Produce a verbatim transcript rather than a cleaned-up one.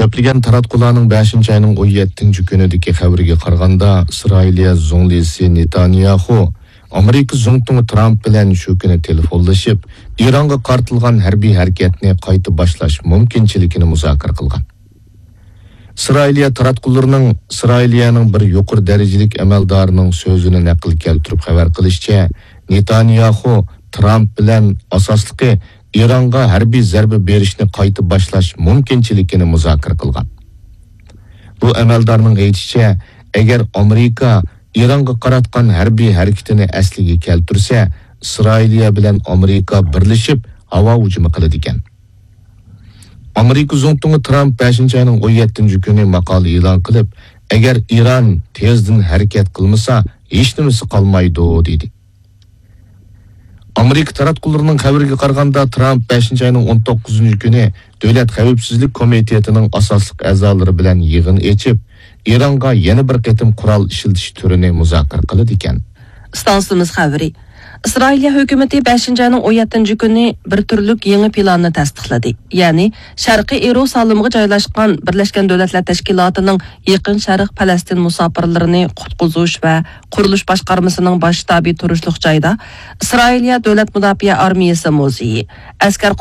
كۆپلىگەن تاراتقۇلارنىڭ بەشىنچى ئاينىڭ ئون يەتتىنچى كۈنىدىكى خەۋىرىگە قارىغاندا، ئىسرائىلىيە زۇڭلىسى نېتانياخۇ ئامېرىكا زۇڭتۇڭى ترامپ بىلەن شۇ كۈنى تېلېفونلىشىپ، ئىرانغا قارىتىلغان ھەربىي ھەرىكەتنى قايتا باشلاش مۇمكىنچىلىكىنى مۇزاكىرە قىلغان. ئىسرائىلىيە تاراتقۇلىرىنىڭ ئىسرائىلىيەنىڭ بىر يۇقىرى دەرىجىلىك ئەمەلدارىنىڭ سۆزىنى نەقىل كەلتۈرۈپ خەۋەر قىلىشىچە، نېتانياخۇ ترامپ بىلەن ئاساسلىقى ئىرانغا ھەربىي زەربە بېرىشنى قايتا باشلاش مۇمكىنچىلىكىنى مۇزاكىرە قىلغان. بۇ ئەمەلدارنىڭ ئېيتىشىچە، ئەگەر ئامېرىكا ئىرانغا قاراتقان ھەربىي ھەرىكىتىنى ئەسلىگە كەلتۈرسە، ئىسرائىلىيە بىلەن ئامېرىكا بىرلىشىپ ھاۋا ھۇجۇمى قىلىدىكەن. ئامېرىكا زۇڭتۇڭى ترامپ بەشىنچى ئاينىڭ ئون يەتتىنچى كۈنى ماقالە ئېلان قىلىپ، ئەگەر ئىران تېزدىن ھەرىكەت قىلمىسا، ھېچنېمىسى قالمايدۇ، دېدى. ئامېرىكا تاراتقۇلىرىنىڭ خەۋىرىگە قارىغاندا، ترامپ بەشىنچى ئاينىڭ ئون توققۇزىنچى كۈنى دۆلەت خەۋپسىزلىك كومىتېتىنىڭ ئاساسلىق ئەزالىرى بىلەن يىغىن ئېچىپ، ئىرانغا يەنە بىر قېتىم قورال ئىشلىتىش تۈرىنى مۇزاكىرە قىلىدىكەن. ئىستانسىمىز خەۋىرى. ئىسرائىلىيە ھۆكۈمىتى بەشىنچى ئاينىڭ ئون يەتتىنچى كۈنى بىر تۈرلۈك يېڭى پىلاننى تەستىقلىدى. يەنى شەرقىي ئىيېرۇسالىمغا جايلاشقان بىرلەشكەن دۆلەتلەر تەشكىلاتىنىڭ يېقىن شەرق پەلەستىن مۇساپىرلىرىنى قۇتقۇزۇش ۋە قۇرۇلۇش باشقارمىسىنىڭ باش شتابى تۇرۇشلۇق جايدا ئىسرائىلىيە دۆلەت مۇداپىئە ئارمىيەسى مۇزېيى، ئەسكەر